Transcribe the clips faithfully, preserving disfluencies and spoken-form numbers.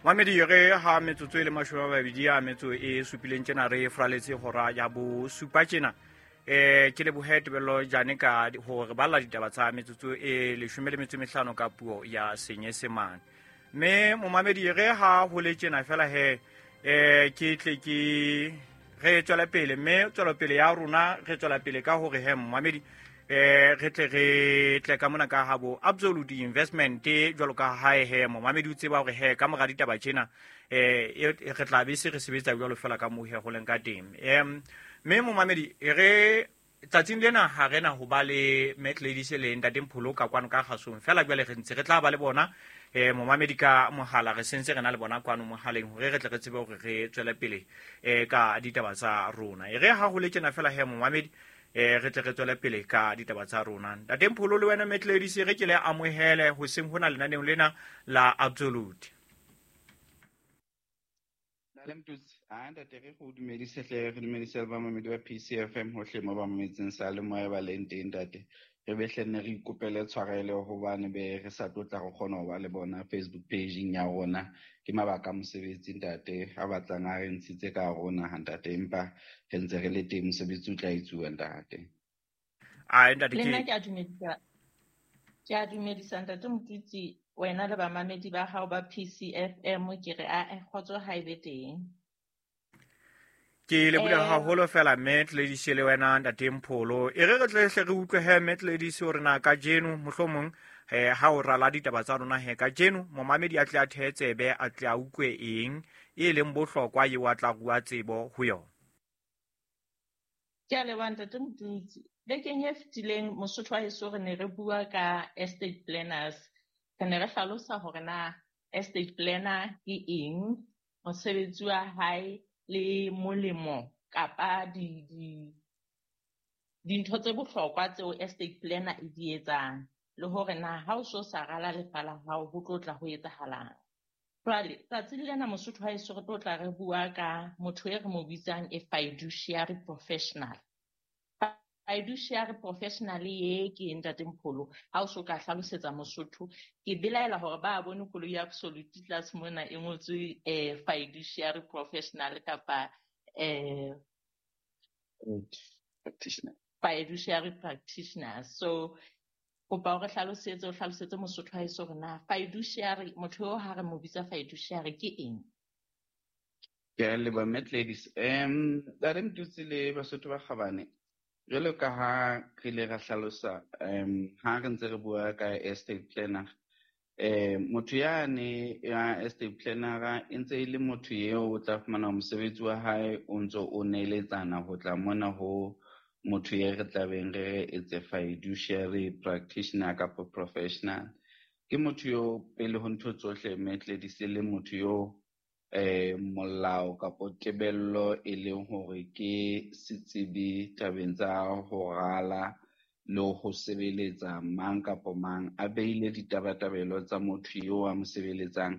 Mamedi re ha metsotso e le mashome a mabedi a metso e supileng tjena re fraletse hora ya bo supa tjena. Eh ke lebohe Tebello Jane ka hore balla ditaba tsa metsotso e leshome le metso e mehlano ka puo ya Senyesemane. Mme momamedi re ha ho le tjena fela he eh ke tle ke re tswela pele, mme tswelopele ya rona re tswela pele ka hore he momamedi eh re tle re tle ka mona ka habo Absolute Investment jwalo ka hae he momamedi o tseba hore he ka mora ditaba tjena eh re tla be se re sebetsa jwalo fela ka moo he ho leng ka teng. Em mme momamedi re tsatsing lena ha rena ho ba le Matt Ladies le Ntate Mpholo ka kwano ka kgasong fela jwale re ntse re tla ba le bona eh momamedi ka mohala re sentse re na le bona kwano mohaleng hore re tle re tsebe hore re tswele pele eh ka ditaba tsa rona. E re ha ho le tjena fela he momamedi eh re tle re tswele pele ka ditaba tsa rona. Ntate Mpholo le wena Matt Ladies re ke le amohele ho seng hona lenaneong lena la Absolute. Ntate Mtutsi, a ntate re go dumedise hle, re dumedise le bamamedi ba P C F M hohle mo ba mametseng sa le moya ba leng teng ntate. Re be hle nne re ikopele tshwarelo hobane be re sa tlo tla re kgona ho ba le bona Facebook page-ing ya rona. Ke mabaka a mosebetsi ntate, a batlang a re ntshitse ka rona ha ntate, empa re ntse re le teng, mosebetsi o tla etsuwa ntate. A ntate Le ke nna ke a dumedisa, ke a dumedisa ntate Mtutsi, wena le bamamedi ba hao ba P C F M, ke re a e kgotso ha e be teng. Ke lebohile Eh, haholo fela Matt Ladies le wena Ntate Mpholo. E re re tle hle re utlwe he Matt Ladies hore na kajeno mohlomong eh ha o rala ditaba tsa rona he kajeno momamedi a tle a thehe tsebe, a tle a utlwe eng e leng bohlokwa eo a tla rua tsebo ho yona. Ke a leboha Ntate Mtutsi. Bekeng e fetileng Mosotho wa heso re ne re bua ka estate planners. Re ne re hlalosa hore na estate planner ke eng, mosebetsi wa hae le molemo kapa di, di, dintho tse bohlokwa tseo estate planner e di etsang, le hore na ha o so sa rala lefa la hao ho tlo tla ho etsahalang. Jwale tsatsing lena Mosotho wa heso re tlo tla re bua ka motho e re mo bitsang a fiduciary professional. Fiduciary professional e ke Ntate Mpholo, ha o so ka hlalosetsa Mosotho, ke belaela hore ba bone koloi ya Absolute tlase mona e ngotswe, eh, fiduciary professional kapa, eh, practitioner. Fiduciary practitioner. So kopa o re hlalosetse, o hlalosetse Mosotho ha eso hore na fiduciary, motho eo ha re mo bitsa fiduciary ke eng? Ke a leboha Matt Ladies. Em, Ntate Mtutsi le Basotho ba kgabane, jwalo ka ha re ile ra hlalosa, em, ha re ntse re bua ka estate planner, eh, motho yane ya estate planner e ntse e le motho eo o tla fumana mosebetsi wa hae o ntse o neletsana ho tla mona ho motho e re tlabeng re re etse fiduciary practitioner kapa professional. Ke motho yo pele ho ntho tsohle Matt Ladies e le motho yo eh, molao kapo tebello e leng hore ke setsebi tabeng tsa ho rala le ho sebeletsa mang kapo mang, a beile ditabatabelo tsa motho eo a mo sebeletsang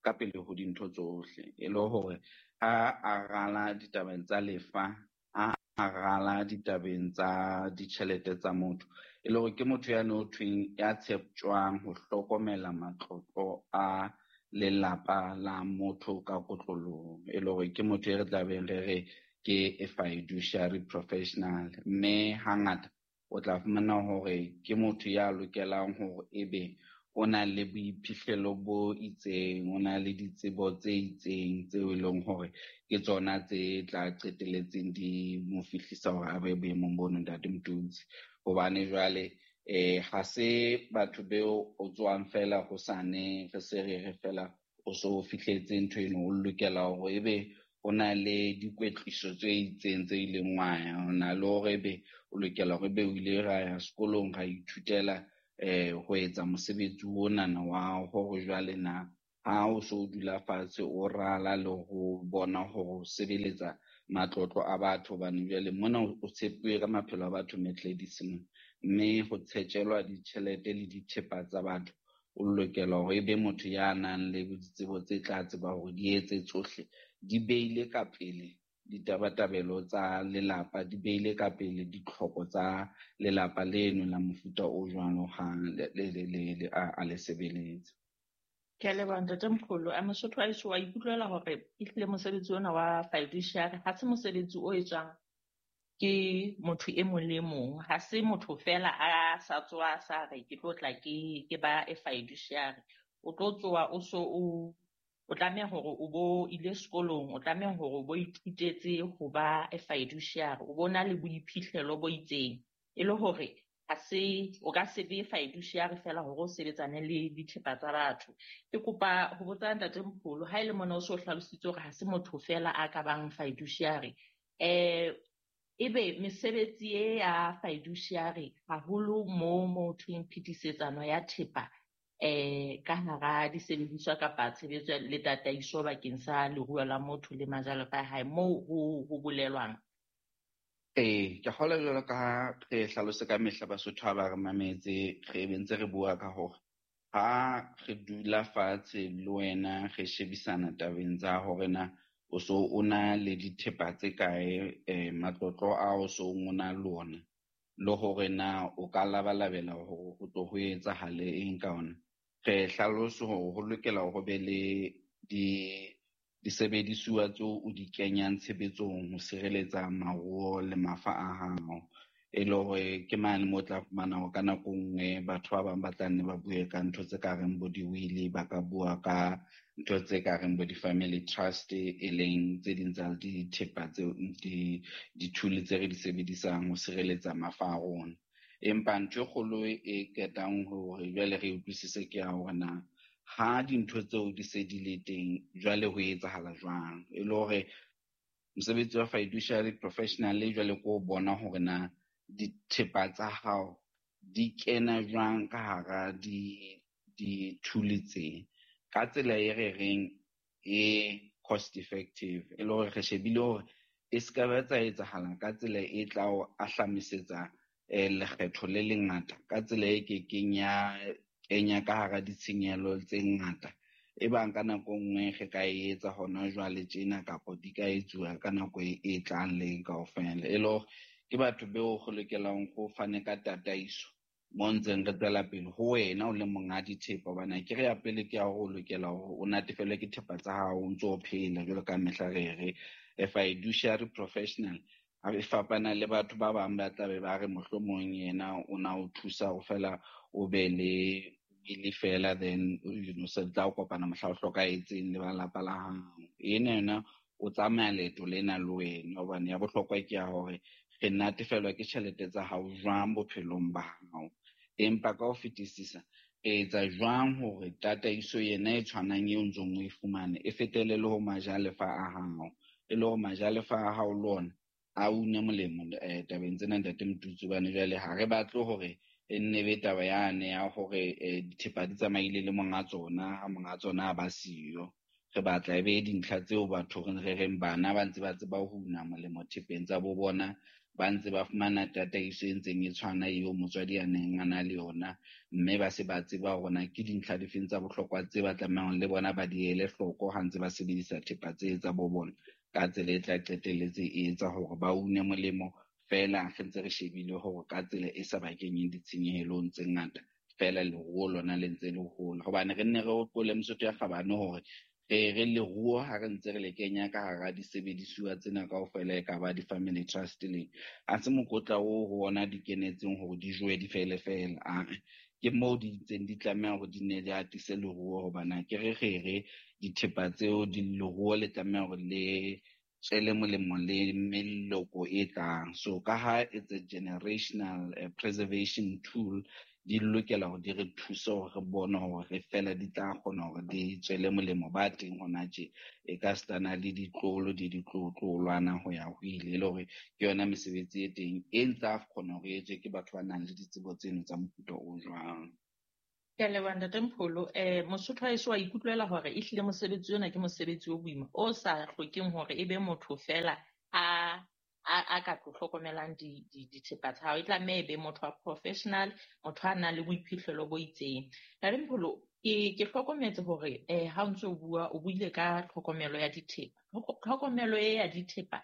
ka pele ho dintho tsohle, e le hore ha a rala ditabeng tsa lefa, ha a rala ditabeng tsa ditjhelete tsa motho, e le hore ke motho ya no thweng ya tsheptjwang ho hlokomela matlotlo a lelapa la motho ka kotloloho, e le hore ke motho e re tlabeng re re ke a fiduciary professional. Mme hangata o tla fumana hore ke motho ya lokelang hore ebe o na le boiphihlelo bo itseng, o na le ditsebo tse itseng tseo e leng hore ke tsona tse tla qetelletseng di mo fihlisa hore a be boemong bono Ntate Mtutsi. Hobane jwale eh ha se batho beo o tswang fela hosane re se re re fela o so fihletse ntho eno, o lokela hore ebe o na le dikwetliso tse itseng tse ileng wa ya, o na le hore ebe o lokela hore ebe o ile ra ya sekolong ra ithutela eh ho etsa mosebetsi onana wa hore jwale na ha o so dula fatshe o rala le ho bona hore o sebeletsa matlotlo a batho, hobane jwale mona o tshepuwe ka maphelo a batho Matt Ladies mona, mme ho tshetjelwa ditjhelete le dithepa tsa batho, o lokela hore ebe motho ya nang le ditsebo tse tla tseba hore di etse tsohle, di beile ka pele ditabatabelo tsa lelapa, di beile ka pele ditlhoko tsa lelapa leno la mofuta o jwalo ha le, le, le, le, a, a le sebeletse. Ke a leboha Ntate Mpholo. A Mosotho wa heso wa ikutlwela hore ehlile mosebetsi ona wa fiduciary ha se mosebetsi o etswang ke motho e mong le mong. Ha se motho fela a sa tsoha sa re ke tlo tla ke ke ba e fiduciary. O tlo tsoha o so o o tlameha hore o bo ile sekolong, o tlameha hore o bo ithutetse ho ba e fiduciary, o bo na le boiphihlelo bo itseng. E le hore ha se o ka se be fiduciary fela hore o sebetsane le dithepa tsa batho. Ke kopa ho botsa Ntate Mpholo, ha e le mona o so hlalositse hore ha se motho fela a ka bang fiduciary. Eh ebe mesebetsi e ya fiduciary haholo mo mo thweng phetisetsano ya thepa eh ka hara disebediswa kapa tshebetso le tataiso bakeng sa leruo la motho le majalefa a hae moo ho ho bolelwang. Ee, ke kgolwa jwalo ka ha re hlalose ka mehla Basotho ha ba re mametse, re be ntse re bua ka hore ha re dula fatshe le wena re shebisana tabeng tsa hore na o so o na le dithepa tse kae, eh, matlotlo a o so o na le ona, le hore na o ka labalabela hore ho tlo ho etsahale eng ka ona. Re hlalose hore ho lokela ho be le di disebedisuwa tseo o di kenyang tshebetsong ho sireletsa maruo le mafa a hao. E le hore ke mane mo tla fumana hore ka nako nngwe batho ba bang ba tla nne ba bue ka ntho tse ka reng bo di-will, ba ka bua ka ntho tse ka reng bo di-family trust, e leng tse ding tsa dithepa tseo, di, di-tool tse re di sebedisang ho sireletsa mafa a rona. Empa ntho e kgolo e qetang hore jwale re utlwisise ke ya hore na ha dintho tseo di se di le teng jwale ho etsahala jwang. E le hore mosebetsi wa fiduciary professional jwale ke o bona hore na dithepa tsa hao di kena jwang ka hara di, di-tool tse ka tsela e re reng e cost effective. E le hore re shebile hore e ska ba tsa etsahala ka tsela e tla o ahlamisetsa, eh, lekgetho le lengata, ka tsela e kekeng ya kenya ka hara ditshenyehelo tse ngata. E bang ka nako nngwe re ka e etsa hona jwale tjena kapa di ka etsuwa ka nako e, e tlang le kaofela. E le hore ke batho beo go lokelang go fane ka tataiso mo ntseng re tswela pele ho wena o le monga dithepa, hobane akere ya pele ke ya hore o lokela hore o natefelwe ke thepa tsa hao o ntso o phela jwalo ka mehla re re. A fiduciary professional ha e fapana le batho ba bang ba tla be ba re mohlomong yena o na o thusa ho fela o be le ile fela, then you know se tla o kopana mohla o hlokahetseng le ba lapa la hao. Ena yona o tsamaya leeto lena le wena, hobane ya bohlokwa ke ya hore re natefelwa ke tjhelete tsa hao jwang bophelong ba hao. Empa ka ho fetisisa, re etsa jwang hore tataiso yena e tshwanang eo ntsong o e fumane e fetele le ho majalefa a hao, e le hore majalefa a hao le ona a une molemo, eh, tabeng tsena Ntate Motutsi, hobane jwale ha re batle hore e nne be taba yane ya hore, eh, dithepa di tsamaile le monga tsona, ha monga tsona a ba siyo. Re batla e be dintlha tseo batho re re reng bana ba ntse ba tseba ho una molemo thepeng tsa bo bona, ba ntse ba fumana tataiso e ntseng e tshwana eo motswadi a neng a na le yona, mme ba se ba tseba hore na ke dintlha difeng tsa bohlokwa tse ba tlamehang le bona ba di ele hloko ha ntse ba sebedisa thepa tse tsa bo bona ka tsela e tla qetelletse e etsa hore ba une molemo fela re ntse re shebile hore ka tsela e sa ba kenyeng ditshenyehelong tse ngata fela leruo lona le ntse le hola. Hobane re nne re hopole Mosotho ya Kgabane hore re re leruo ha re ntse re le kenya ka hara disebedisuwa tsena kaofela, e ka ba di-family trust le ha se mokotla oo ho ona di kenetseng hore di jowe di fele fela. A ke moo di ntseng di tlameha hore di nne di atise leruo, hobane ha ke re re re dithepa tseo di leruo le tlameha hore le tswele molemo le meloko e tlang. So ka ha it's a generational, eh, preservation tool, di lokela hore di re thuse hore re bone hore re fela di tla kgona hore di tswele molemo ba teng hona tje. E ka sitana le ditlolo di ditlotlolwana ho ya ho ile, e le hore ke yona mesebetsi e teng e ntse a kgona hore e etswe ke batho ba nang le ditsebo tseno tsa mofuta o jwang. Ke a leboha Ntate Mpholo. Eh, Mosotho wa heso wa ikutlwela hore ehlile mosebetsi ona ke mosebetsi o boima, o sa hlokeng hore e be motho fela a, a, a ka tlo hlokomelang di, di, dithepa tsa hao. E tlameha e be motho wa professional, motho a nang le boiphihlelo bo itseng. Ntate Mpholo, ke, ke hlokometse hore, eh, ha o ntso o bua, o buile ka tlhokomelo ya dithepa. Tlhokomelo e ya dithepa,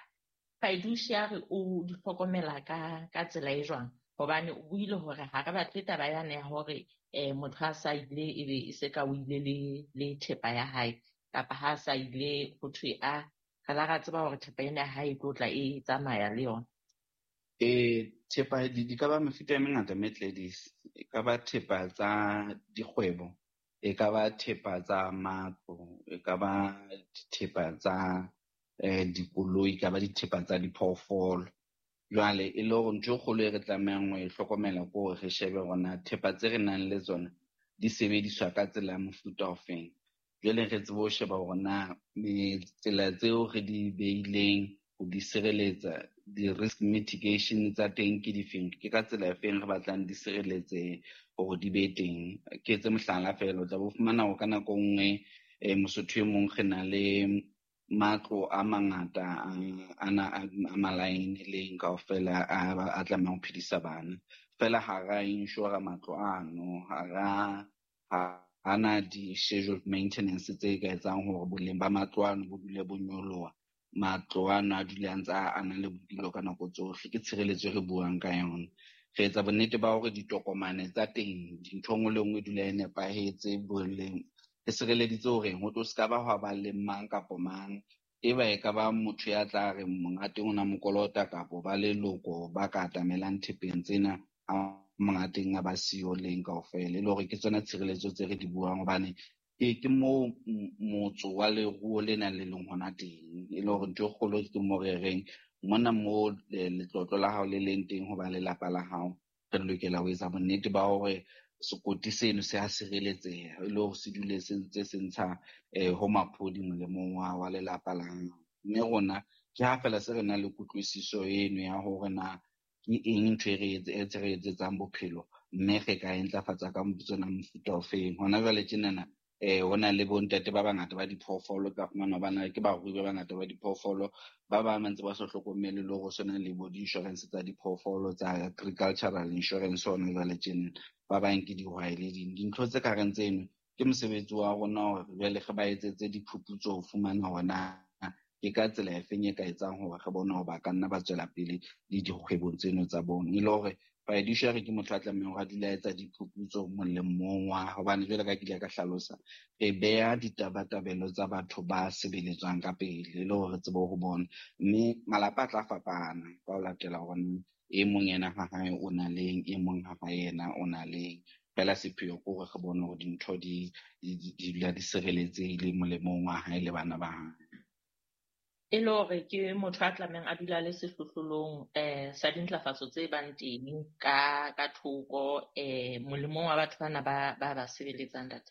fiduciary o di hlokomela ka, ka tsela e jwang? Hobane o buile hore ha re batle taba yane ya hore eh motho a sa ile ebe e se ka o ile le le thepa ya hae, kapa ha sa ile ho thwe a re la ra tseba hore thepa ena ya hae e tlo tla e tsamaya le yona. Eh thepa di di ka ba mefuta e mengata Ladies. E ka ba thepa tsa dikgwebo, e ka ba thepa tsa matlo, e ka ba thepa tsa eh dikoloi, e ka ba dithepa tsa diphoofolo. Jwale e le hore ntho e kgolo e re tlamehang ho e hlokomela ke hore re shebe hore na thepa tse re nang le tsona di sebediswa ka tsela ya mofuta ofeng. Jwale re tsebe ho sheba hore na tsela tseo re di beileng ho di sireletsa, di-risk mitigation tsa teng ke difeng, ke ka tsela efeng re batlang di sireletse hore di be teng. Ke etse mohlala feela, o tla bo fumana hore ka nako e nngwe eh Mosotho e mong re na le matlo a mangata a na a malaene leng kaofela a a tlamehang ho phedisa bana. Feela ha ra insure matlo ano, ha ra ha na di-scheduled maintenance tse ka etsang hore boleng ba matlo ano bo dule bo nyoloha. Matlo ano a dule a ntse a na le bodulo ka nako tsohle. Ke tshireletso e re buang ka yona. Re etsa bonnete ba hore ditokomane tsa teng, dintho nngwe le nngwe e dula e nepahetse boleng. Re sireleditse hore ho tlo ska ba hwa ba le mang kapa mang, e ba e ka ba motho ya tla re monga teng o na mo kolota kapo ba leloko ba ka atamelang thepeng tsena a monga teng a ba siyo leng kaofela. E le hore ke tsona tshireletso tse re di buang, hobane ke ke moo motso wa leruo le nang le leng hona teng. E le hore ntho e kgolo ke mo re reng mona mo letlotlo la hao le leng teng ho ba lelapa la hao, re lokela ho etsa bonnete ba hore sekoti seno se a sireletseha, e le hore se dule se ntse se ntsha eh ho maphodi molemong wa wa lelapa la hao. Mme rona ke ha feela se re nang le kutlwisiso eno ya hore na ke eng ntho e re etse re etsetsang bophelo, mme re ka e ntlafatsa ka tsona mofuta ofeng. Hona jwale tjenana eh ho na le bontate ba bangata ba diphoofolo, ka fumana ba na ke barui ba bangata ba diphoofolo, ba bang ba ntse ba sa hlokomele le hore sona le bo di-insurance tsa diphoofolo tsa agricultural insurance hona jwale tjena, ba bang ke dihwai le ding. Dintho tse ka reng tseno ke mosebetsi wa rona hore jwale re ba etsetse diphuputso ho fumana hore na ke ka tsela efeng e ka etsang hore re bone hore ba ka nna ba tswela pele le dikgwebong tseno tsa bona. E le hore fiduciary ke motho a tlamehang hore a dule a etsa diphuputso molemong wa, hobane jwale ka ke ile ka hlalosa, re beha ditabatabelo tsa batho ba sebeletswang ka pele e le hore re tsebe ho bona. Mme malapa a tla fapana ka ho latela hore e mong yena ha hae o na leng, e mong ha hae yena o na leng. Feela sepheo ke hore re bone hore dintho di di di dula di sireletsehile molemong wa hae le bana ba hae. E le hore ke motho a tlamehang a dula le sehlohlolong eh sa dintlafatso tse bang teng ka ka thoko eh molemong wa batho bana ba ba ba sebeletsang ntate.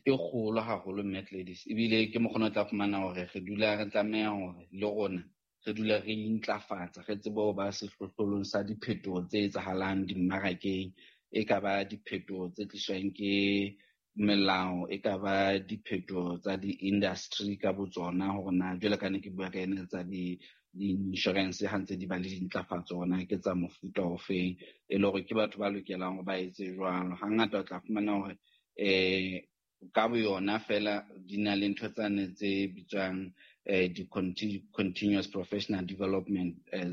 Ke kgolo haholo Mme Gladys, ebile ke mokgona o tla fumana hore re dula re tlameha hore le rona re dula re intlafatsa, re tsebe ho ba sehlohlolong sa diphetoho tse etsahalang dimmarakeng. E ka ba diphetoho tse tliswang ke melao, e ka ba diphetoho tsa di-industry ka botsona, hore na jwale ka ne ke bua ka ena tsa di di-insurance ha ntse di ba le dintlafatso hore na ke tsa mofuta ofeng, e le hore ke batho ba lokelang hore ba etse jwalo. Hangata o tla fumana hore eh ka boyona feela di na le ntho tsane tse bitswang eh di-continuous professional development, eh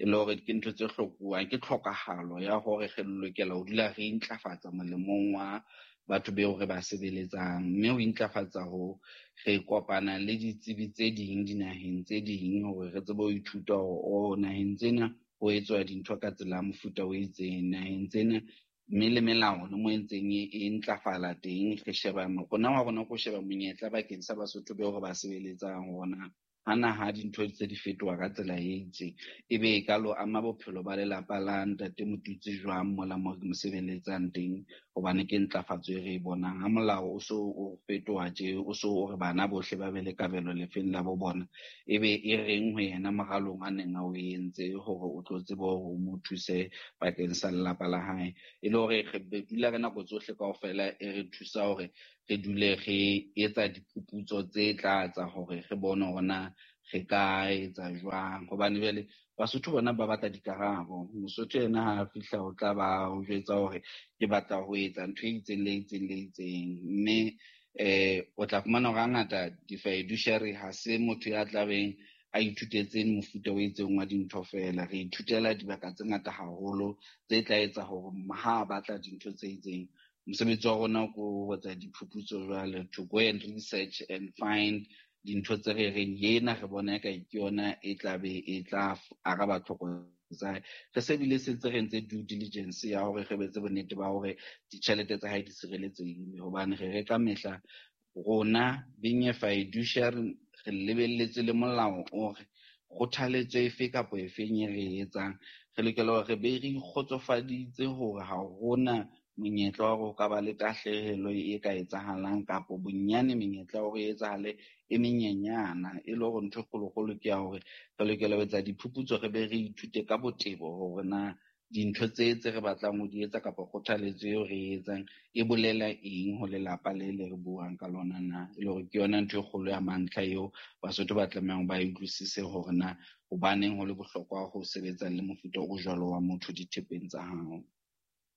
e le hore ke ntho tse hlokuwang, ke tlhokahalo ya hore re lokela ho dula re intlafatsa molemong wa batho beo re ba sebeletsang. Mme ho intlafatsa ho re kopana le ditsebi tse ding dinaheng tse ding hore re tsebe ho ithuta hore o naheng tsena ho etswa dintho ka tsela ya mofuta o itseng, naheng tsena mme le melao le mo e ntseng e ntlafala teng. Re sheba rona wa rona ko sheba monyetla bakeng sa Basotho beo re ba sebeletsang hore na ha naha dintho tse di fetoha ka tsela e itseng, ebe e ka lo ama bophelo ba lelapa la ntate Motutsi jwang mola mo re mo sebeletsang teng, hobane ke ntlafatso e re e bonang. Ha molao o so o fetoha tje, o so o re bana bohle ba be le kabelo lefeng la bo bona, ebe e reng ho yena moralong a neng a o entse hore o tlo tsebe hore o mo thuse bakeng sa lelapa la hae. E le hore re dula ka nako tsohle kaofela e re thusa hore re dule re etsa diphuputso tse tla tsa hore re bone hore na re ka etsa jwang, hobane jwale Basotho bona ba batla dikarabo. Mosotho yena ha a fihla o tla ba o jwetsa hore ke batla ho etsa ntho e itseng le itseng le itseng, mme eh o tla fumana hore hangata di-fiduciary ha se motho ya tlabeng a ithutetseng mofuta o itseng wa dintho fela. Re ithutela dibaka tse ngata haholo tse tla etsa hore ha a batla dintho tse itseng. Mosebetsi wa rona ke ho etsa diphuputso jwale, to go and research and find dintho tse re reng ena re bona eka ke yona e tla be e tla araba tlhoko tsa hae. Re se bile se ntse re entse due diligence ya hore re betse bonnete ba hore ditjhelete tsa hae di sireletsehile, hobane re re ka mehla rona being a fiduciary re lebelletse le molao o re kgothaletso efe kapa efeng e re e etsang, re lokela hore re be re ikgotsofaditse hore ha hona monyetla wa hore ho ka ba le tahlehelo e ka etsahalang, kapa bonyane menyetla ya hore e etsahale e menyenyana. E le hore ntho e kgolokgolo ke ya hore re lokela ho etsa diphuputso, re be re ithute ka botebo hore na dintho tse tse re batlang ho di etsa kapa kgothaletso eo re e etsang e bolela eng ho lelapa le le re buang ka lona na. E le hore ke yona ntho e kgolo ya mantlha eo Basotho ba tlamehang ba e utlwisise hore na hobaneng ho le bohlokwa ho sebetsa le mofuta o jwalo wa motho dithepeng tsa hao.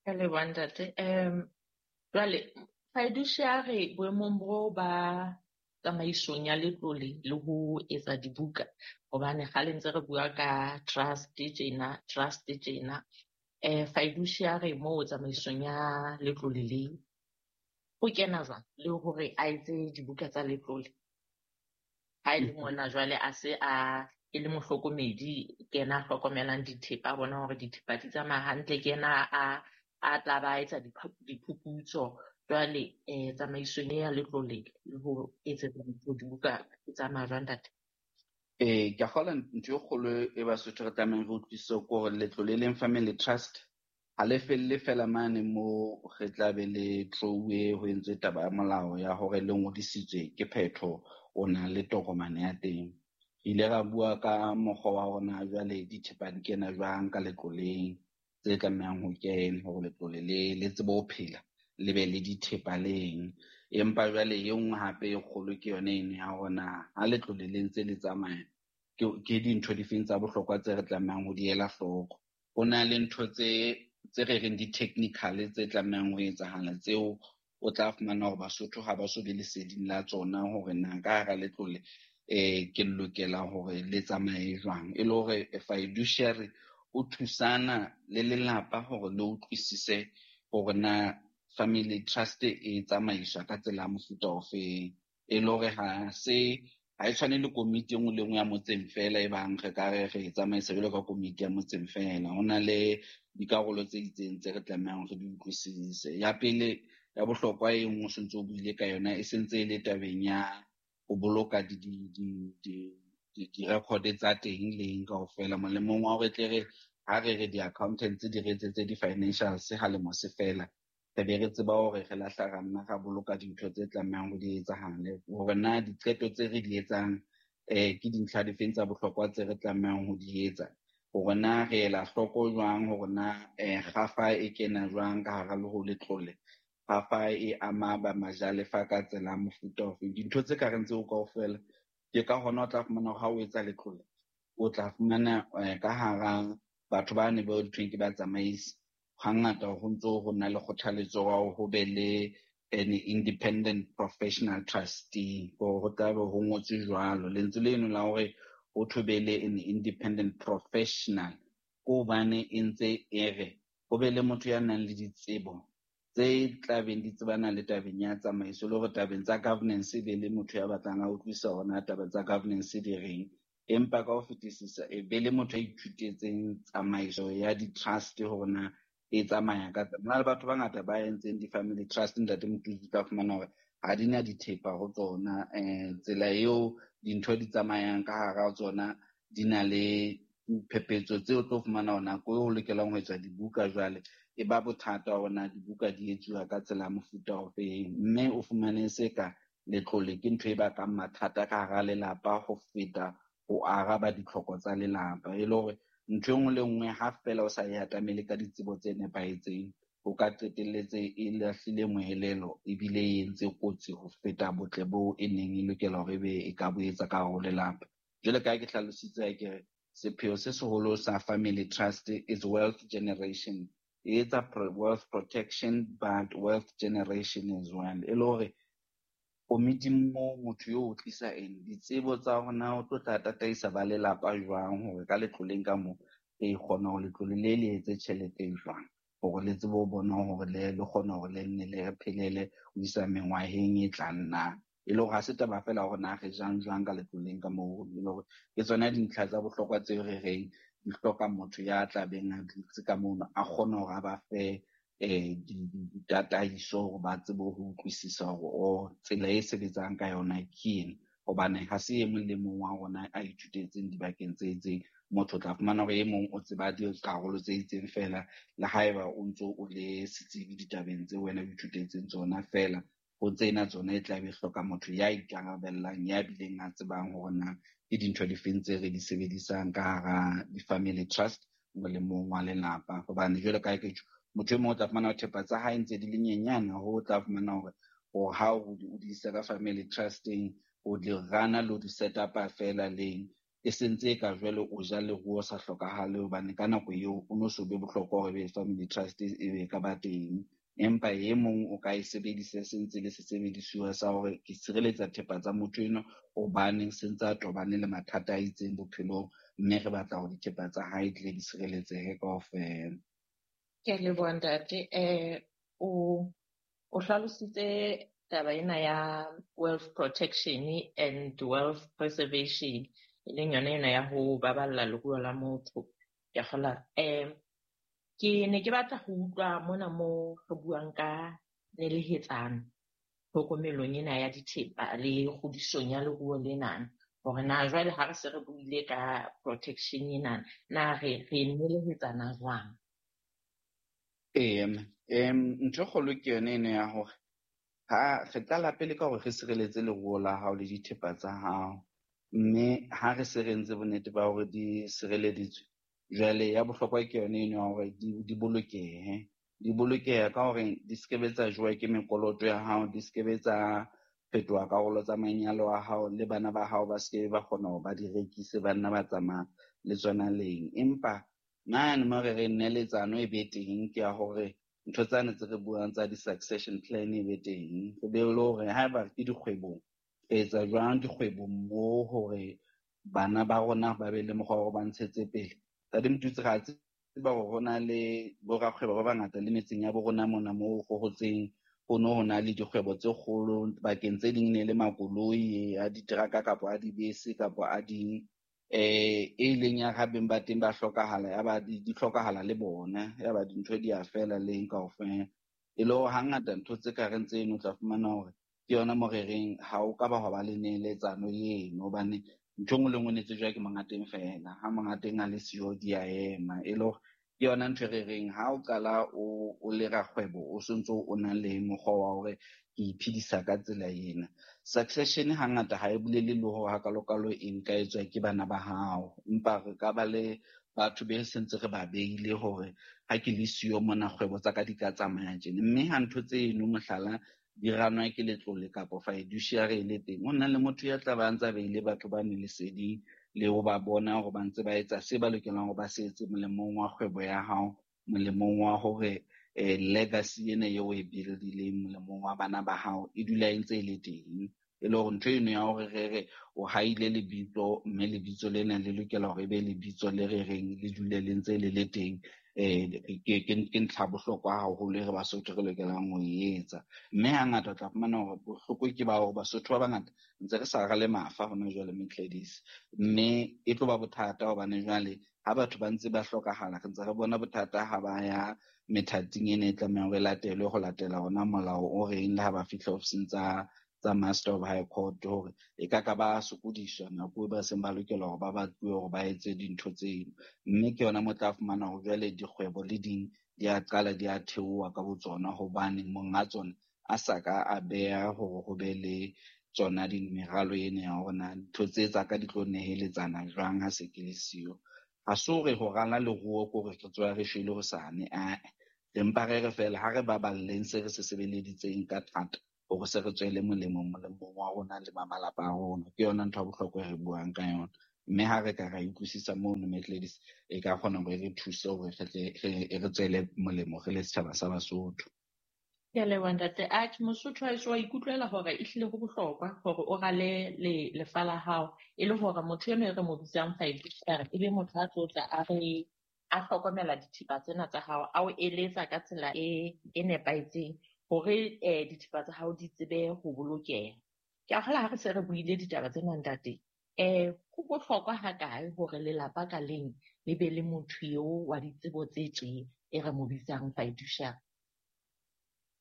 Ka leboha ntate. Um jwale fiduciary boemong bo ba tsamaisong ya letlole le ho etsa dibuka, hobane kgale ntse re bua ka trust tjena, trust tjena. Eh fiduciary moo tsamaisong ya letlole le o kena jwang le hore a etse dibuka tsa letlole? Ha e le mona jwale a se a e le mohlokomedi, ke yena a hlokomelang dithepa, a bona hore dithepa di tsamaya hantle, ke yena a a tla ba etsa diphuputso. Jwale eh tsamaisong ya letlole le ho etsetsa dibuka e tsamaya jwang ntate? Eh ke a kgolwa ntho e kgolo e Basotho re tlamehang re utlwisise ke hore letlole leng family trust ha le felle fela mane mo re tla be le tlouwe ho entswe taba ya molao ya hore le ngodisitswe ke phetho, o na le tokomane ya teng. Re ile ra bua ka mokgwa wa hore na jwale dithepa di kena jwang ka letloleng tse tlamehang ho kena hore letlole le le tsebe ho phela, le be le dithepa leng. Empa jwale e nngwe hape e kgolo ke yona eno ya hore na ha letlole le ntse le tsamaya ke dintho difeng tsa bohlokwa tse re tlamehang ho di ela hloko. Ho na le ntho tse tse re reng di-technical tse tlamehang ho etsahala tseo o tla fumana hore Basotho ha ba so be leseding la tsona hore na ka hara letlole eh ke lokela hore le tsamaye jwang. E le hore fiduciary o thusana le lelapa hore le utlwisise hore na family trust e tsamaiswa ka tsela ya mofuta ofeng. E le hore ha se ha e tshwane le komiti e nngwe le nngwe ya motseng fela e bang re ka re re e tsamaisa jwalo ka komiti ya motseng fela. Ho na le dikarolo tse itseng tse re tlamehang re di utlwisise. Ya pele ya bohlokwa e nngwe o sentse o buile ka yona e sentse e le tabeng ya ho boloka di di di di di-record tsa teng leng kaofela, molemong wa hore tle re ha re re di-accountants di re etsetse di-financials ha lemo se fela, re be re tseba hore re lahla ra nna ra boloka dintho tse tlamehang ho di etsahale, hore na diqeto tse re di etsang eh ke dintlha difeng tsa bohlokwa tse re tlamehang ho di etsa, hore na re ela hloko jwang hore na eh kgafa e kena jwang ka hara le ho letlole, kgafa e ama ba majalefa ka tsela ya mofuta ofe. Dintho tse ka reng tseo kaofela ke ka hona o tla fumana hore ha o etsa letlole o tla fumana ka hara batho ba ne ba thweng ke batsamaisi hangata ho ntso ho na le kgothaletso wa ho be le an independent professional trustee, hore ho tla be ho ngotswe jwalo. Lentswe leno la hore ho thwe be le an independent professional ke hobane e ntse e re ho be le motho ya nang le ditsebo tse tlabeng di tsebana le tabeng ya tsamaiso, le hore tabeng tsa governance e be le motho ya batlang a utlwisisa hore na taba tsa governance di reng. Empa ka ho fetisisa e be le motho ya ithutetseng tsamaiso ya di-trust hore na e tsamaya ka tsela. Hona le batho ba bangata ba entseng di-family trust ntate Motutsi, tla fumana hore ha di na dithepa ho tsona. Eh tsela eo dintho di tsamayang ka hara tsona di na le phephetso tseo tlo fumana hore nako eo ho lokelang ho etswa dibuka jwale e ba bothata hore na dibuka di etsuwa ka tsela ya mofuta ofeng, mme o fumane se ka letlole ke ntho e bakang mathata ka hara lelapa ho feta ho araba ditlhoko tsa lelapa. E le hore ntho e nngwe le nngwe ha fela o sa e atamele ka ditsebo tse nepahetseng, o ka qetelletse e lahlile moelelo ebile e entse kotsi ho feta botle bo e neng e lokela hore ebe e ka bo etsa ka hare ho lelapa. Jwale ka ha ke hlalositse ke re sepheo se seholo sa family trust is wealth generation. E etsa wealth protection but wealth generation as well. E le hore Komiting moo motho yo o tlisa eng ditsebo tsa hore na o tlo tla tataisa ba lelapa jwang hore ka letloleng ka moo re kgona hore letlole le le etse tjhelete jwang hore le tsebe ho bona hore le le kgona hore le nne le re phelele ho isa mengwaheng e tlang na. E le hore ha se taba feela hore na re jang jwang ka letloleng ka moo, e le hore ke tsona dintlha tsa bohlokwa tseo re reng di hloka motho ya tla beng a dutse ka mono a kgone hore a ba fe eh ditataiso hore ba tsebe ho utlwisisa hore o tsela e sebetsang ka yona ke ena. Hobane ha se e mong le mong wa rona a ithutetseng dibakeng tse itseng. Motho o tla fumana hore e mong o tseba dikarolo tse itseng feela, le haeba o ntso o le setsebi ditabeng tseo wena o ithutetseng tsona feela, ho tsena tsona e tla be hloka motho ya ikarabellang, ya bileng a tsebang hore na ke dintho difeng tse re di sebedisang ka hara di-family trust molemong wa lelapa. Hobane jwalo ka ha ke tjho, motho e mong o tla fumana hore thepa tsa hae ntse di le nyenyane hoo o tla fumana hore hore ha o di isa ka family trust-eng, o di rana le ho di set up-a feela leng, e sentse e ka jwale o ja leruo sa hlokahale hobane ka nako eo o no so be bohlokwa hore ebe family trust e be ka ba teng. Empa e mong o ka e sebedisa se ntse le sesebedisuwa sa hore ke sireletsa thepa tsa motho enwa hobane se ntse a tobane le mathata a itseng bophelong, mme re batla hore dithepa tsa hae di tle di sireletsehe kaofela. Ke a leboha ntate. Eh, o o hlalositse taba ena ya wealth protection and wealth preservation, e leng yona ena ya ho baballa leruo la motho. Ke a kgolwa. Eh, ke ne ke batla ho utlwa mona mo re buang ka nelehetsano tlhokomelong ena ya dithepa le kgodisong ya leruo lena, hore na jwale ha re se re buile ka protection ena, na re re nelehetsana jwang? Ee, em ntho e kgolo ke yone eno ya hore ha re qala pele ka hore re sireletse leruo la hao le dithepa tsa hao, mme ha re se re entse bonnete ba hore di sireleditswe, jwale ya bohlokwa ke yone eno ya hore di, di bolokehe. Di bolokehe ka hore di se ke be tsa jowa ke mekoloto ya hao, di se ke be tsa fetoha karolo tsa manyalo a hao, le bana ba hao ba se ke ba kgona hore ba di rekise, ba nna ba tsamaya le tsona leng. Empa mane mo re re neletsano e be teng ke ya hore ntho tsane tse re buang tsa di-succession plan e be teng. Re be le hore haeba ke dikgwebong, re etsa jwang dikgwebong moo hore bana ba rona ba be le mokgwa wa hore ba ntshetse pele. Ntate Motutsi, re a tseba hore ho na le borakgwebo ba bangata le metseng ya bo rona mona moo go hotseng, ho no ho na le dikgwebo tse kgolo, bakeng tse ding ne le makoloi a diteraka kapa a dibese kapa a ding, eh e leng ya ha beng ba teng ba hlokahala, ya ba di, di hlokahala le bona, ya ba dintho di a fela leng kaofela. E le hore hangata ntho tse ka reng tseno o tla fumana hore ke yona mo re reng ha o ka ba hwa ba le neletsano eno, hobane ntho e nngwe le nngwe e ne tsejwa ke monga teng feela. Ha monga teng a le siyo di a ema. E le hore ke yona ntho e re reng ha o qala o, o le rakgwebo, o sontso o na le mokgwa wa hore ke iphedisa ka tsela ena. Succession hangata ha e bolele le hore hakalokalo e nka etswa ke bana ba hao, empa re ka ba le batho be sentse re ba beile hore ha ke le siyo mona kgwebo tsa ka di ka tsamaya tjena. Mme ha ntho tseno mohlala di ranwa ke letlole kapa fiduciary e le teng, ho na le motho ya tla ba ntsa beile batho ba ne leseding le ho ba bona hore ba ntse ba etsa se ba lokelang hore ba se etse molemong wa kgwebo ya hao, molemong wa hore eh, legacy ena eo o e build-ileng molemong wa bana ba hao e dula e ntse e le teng. E le hore ntho eno ya hore re re o haile lebitso, mme lebitso lena le lokela hore e be lebitso le re reng le dule le ntse le le teng, eh, ke, ke, ke ntlha bohlokwa haholo e re Basotho re lokelang ho e etsa. Mme hangata o tla fumana hore bohloko ke ba hore Basotho ba bangata ntse re sa rale mafa hona jwale Mcladis, mme e tlo ba bothata hobane jwale ha batho ba ntse ba hlokahala, re ntse re bona bothata ha ba ya methating ena e tlamehang hore e latelwe ho latela ona molao o reng le ha ba fihla ofising tsa, tsa Master of High Court hore e ka ka ba sokodiswa nako e ba seng ba lokela hore ba batluwe hore ba etse dintho tseno. Mme ke yona mo tla fumana hore jwale dikgwebo le ding di a qala di a theoha ka botsona hobane monga tsona a sa ka a beha hore ho be le tsona di meralo ena ya hore na ntho tse tsa ka di tlo neheletsana jwang ha se ke le siyo. Ha se hore ho rala leruo ke hore re tsoha re shwele hosane, ae. Re mpa re re feela ha re baballeng se re se sebeleditseng ka thata hore se re tswele molemo molemong wa rona le ba malapa a rona. Ke yona ntho ya bohlokwa e re buang ka yona. Mme ha re ka ra utlwisisa mono Mcladis, e ka kgona hore e re thuse hore re tle re, e re tswele molemo re le setjhaba sa Basotho. Ke a leboha ntate. Atjhe, Mosotho wa heso wa ikutlwela hore ehlile ho bohlokwa hore o rale le lefa la hao e le hore motho eno e re mo bitsang fiduciary e be motho a tlo tla a re a hlokomela dithipa tsena tsa hao, a o eletsa ka tsela e e nepahetseng hore eh dithipa tsa hao di tsebe ho bolokeha. Ke a kgolwa ha re se re buile ditaba tsena ntate, eh ho bohlokwa hakae hore lelapa ka leng le be le motho eo wa ditsebo tse tje e re mo bitsang fiduciary?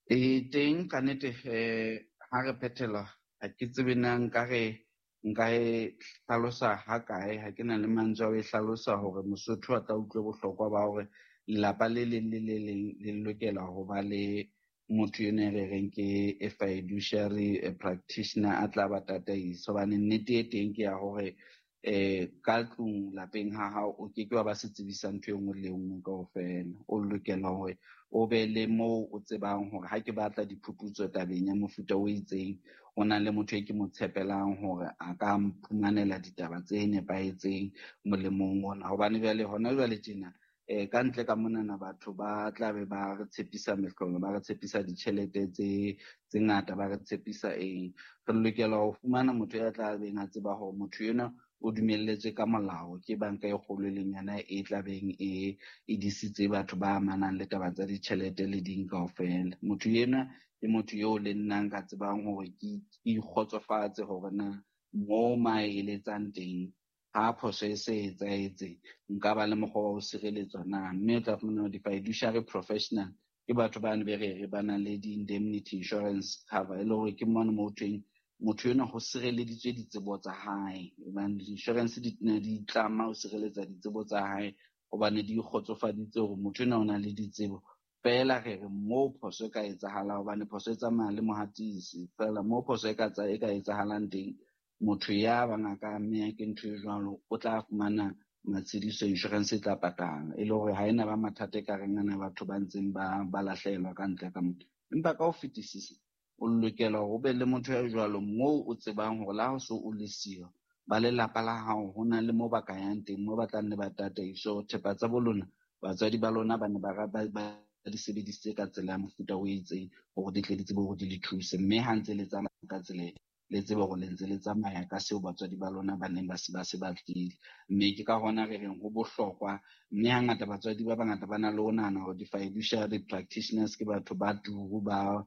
E teng ka nnete eh ha re phethela ha ke tsebe na nka re nka e hlalosa hakae, ha ke na le mantswe a ho e hlalosa hore Mosotho a tla utlwe bohlokwa ba hore lelapa le leng le le leng le lokela ho ba le motho eno e re reng ke a fiduciary practitioner a tla ba tataisa. Hobane nnete e teng ke ya hore eh ka tlung lapeng ha hao o ke ke wa ba setsebi sa ntho e nngwe le e nngwe kaofela. O lokela hore o be le moo o tsebang hore ha ke batla diphuputso tabeng ya mofuta o itseng, ho na le motho e ke mo tshepelang hore a ka mphumanela ditaba tse nepahetseng molemong ona. Hobane jwale hona jwale tjena eh ka ntle ka monana batho ba tla be ba re tshepisa mehlolo, ba re tshepisa ditjhelete tse tse ngata, ba re tshepisa eng. Re lokela ho fumana motho ya tla beng a tseba hore motho enwa o dumelletswe ka molao ke banka e kgolo e leng yona e tla beng e e disitse batho ba amanang le taba tsa ditjhelete le ding kaofela. Motho enwa ke motho eo le nna nka tsebang hore ke ikgotsofatse hore na mo ma eletsang teng ha phoso e se etsahetse nka ba le mokgwa wa ho sireletswa na. Mme o tla fumana hore di-fiduciary professional ke batho ba ne be re re ba na le di-indemnity insurance cover, e le hore ke mona mo thweng motho enwa ho sireleditswe ditsebo tsa hae. Hobane di-insurance di ne di tlama ho sireletsa ditsebo tsa hae hobane di kgotsofaditse hore motho enwa o na le ditsebo. Feela re re moo phoso e ka etsahalang, hobane phoso e tsamaya le mohatisi, feela moo phoso e ka e ka etsahalang teng, motho ya bang a ka ameha ke ntho e jwalo o tla fumana matshediso, insurance e tla patala. E le hore ha ena ba mathata e ka reng ana batho ba ntseng ba ba lahlehelwa ka ntle ka motho. Empa ka ho fetisisa o lokela hore o be le motho ya jwalo moo o tsebang hore le ha o so o le siyo, ba lelapa la hao ho na le moo ba ka yang teng, moo ba tla nne ba tataiswe hore thepa tsa bo lona, batswadi ba lona ba ne ba ba di sebedisitse ka tsela ya mofuta o itseng hore di tle di tsebe hore di le thuse. Mme ha ntse le tsamaya ka tsela e, le tsebe hore le ntse le tsamaya ka seo batswadi ba lona ba neng ba se ba se batlile. Mme ke ka hona re reng ho bohlokwa. Mme hangata batswadi ba bangata ba na le ho nahana hore di-fiduciary practitioners ke batho ba turu, ba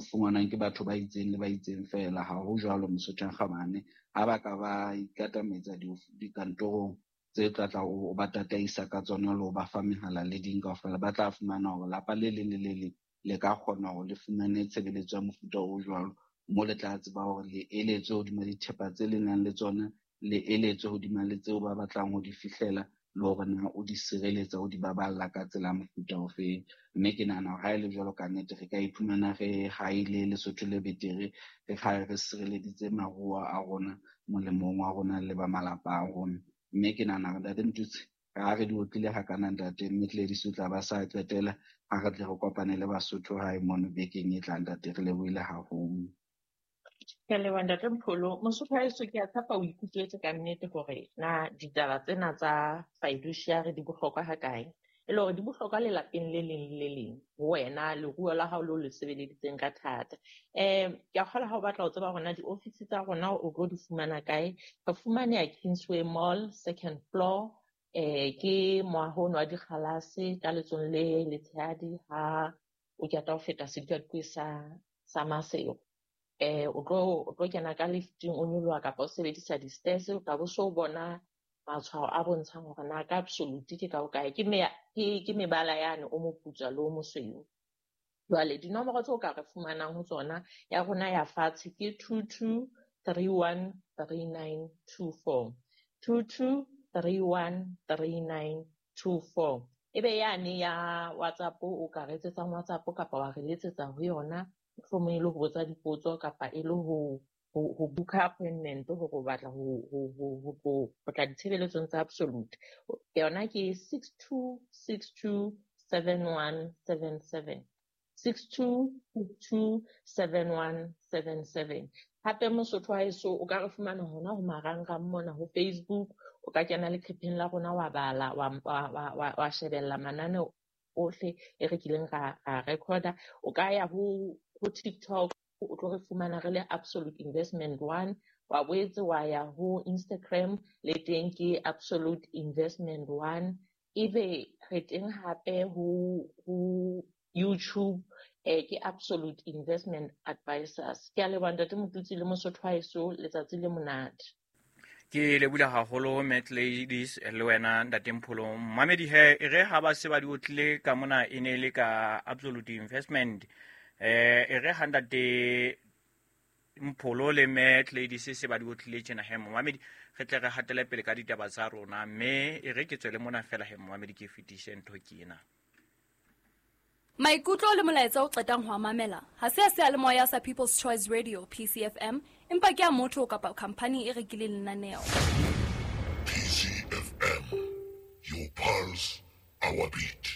fumanwang ke batho ba itseng le ba itseng feela. Ha ho jwalo Mosotho a Kgabane. Ha ba ka ba ikatametsa dikantorong tse tla tla o ba tataisa ka tsona le ho ba fa mehala le ding kaofela, ba tla fumana hore lapa le leng le le leng le ka kgona hore le fumane tshebeletso ya mofuta o jwalo, mo le tla tseba hore le eletswe hodima dithepa tse le nang le tsona, le eletswe hodima le tseo ba batlang ho di fihlela, le hore na o di sireletsa, o di baballa ka tsela ya mofuta ofeng. Mme ke nahana hore ha e le jwalo ka nnete re ka iphumana re haile Lesotho le betere, re kgale re sireleditse maruo a rona molemong wa rona le ba malapa a rona. Mme ke nahana hore Ntate Mtutsi, ha re di otlile hakana ntate, mme Gladys o tla ba sa qetela, ha re tle re kopane le Basotho hae mono bekeng e tlang ntate, re lebohile haholo. Ke a leboha Ntate Mpholo. Mosotho wa heso, ke a tshepa o ikutlwetse ka nnete hore na ditaba tsena tsa fiduciary di bohlokwa hakae. E le hore di bohlokwa lelapeng le leng le le leng, ho wena leruo la hao leo le sebeleditseng ka thata. Eh ke a kgolwa ha o batla ho tseba hore na diofisi tsa rona o tlo di fumana kae, re fumaneha Kingsway Mall, second floor, eh ke moaho ono wa dikgalase ka letsohong le letshehadi ha o qeta ho feta sedikadikwe sa sa Maseru. Eh o tlo o tlo kena ka lifting o nyoloha kapa o sebedisa di-stairs, o tla bo so bona matshwao a bontshang hore na ka absolute ke ka hokae, ke me ke ke mebala yane o moputswa le o mosweu. Jwale dinomoro tseo ka re fumanang ho tsona, ya rona ya fatshe ke two two three one three nine two four, two two three one three nine two four. Ebe yane ya WhatsApp, o ka re etsetsang WhatsApp kapa wa re letsetsa ho yona, mohlomong e le ho botsa dipotso kapa e le ho ho book appointment hore o batla ho ho ho ho ho tla ditshebeletsong tsa Absolute. Yona ke six two six two seven one seven seven, six two six two seven one seven seven. Hape Mosotho wa heso o ka re fumana hona ho marangrang mona ho Facebook, o ka kena leqepheng la rona wa bala, wa wa wa wa shebella mananeo ohle e re kileng ra ra recorda. O ka ya ho ho TikTok, o tlo re fumana re le Absolute Investment One. Wa boetse wa ya ho Instagram, le teng ke Absolute Investment One. Ebe re teng hape ho ho YouTube, eh, ke Absolute Investment Advisors. Ke a leboha Ntate Motutsi le Mosotho wa heso, letsatsi le monate. Ke lebohile haholo Matt Ladies le wena Ntate Mpholo. Mamedi he, e re ha ba se ba di otlile ka mona e ne e le ka Absolute Investment. Eh, e re ha Ntate Mpholo le Matt Ladies se ba di otlile tjena he, momamedi, re tle re hatele pele ka ditaba tsa rona, mme e re ke tswele mona fela he, momamedi, ke fetise ntho ke ena. Maikutlo le molaetsa o qetang ho a mamela ha se a seyalemoya sa People's Choice Radio P C F M, empa ke a motho kapa khampani e rekileng lenaneo. P C F M, your pulse, our beat.